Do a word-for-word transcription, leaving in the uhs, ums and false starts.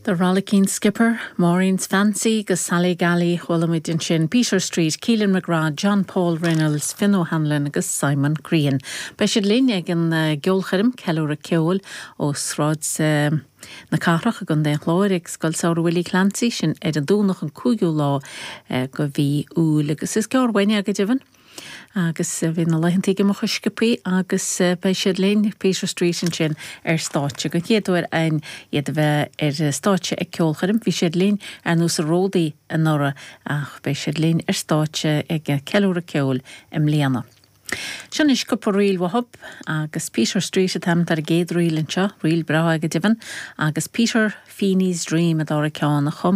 The Rollicking Skipper, Maureen's Fancy agus Sally Galley chuala muid ansin Peter Street, Keelan McGrath, John Paul Reynolds, Finn O'Hanlon agus Simon Crean. Beidh siad linn ag an uh, gceolchoirm ceiliúradh ceoil ó Sráid uh, na Cathrach i gContae an Chláir ag Scoil Samhraidh Willie Clancy sin ar an Domhnach an cúigiú lá uh, de mhí Iúil agus is gearr uainn go deimhin. Agus bhí na laethanta ag imeacht sciobtha agus beidh siad linn Peter Street ansin ar stáitse go chéad uair againn iad a bheith ar stáitse ag ceolchoirm, bhí siad linn ar nós ródaí anuraidh ach beidh siad linn ar stáitse ag ceiliúradh ceoil i mbliana. Sin is cúpla ríl uathu agus Peter Street atá ar an gcéad ríl anseo, ríl breá go deimhin, agus Peter Feeney's Dream a dara ceann a chum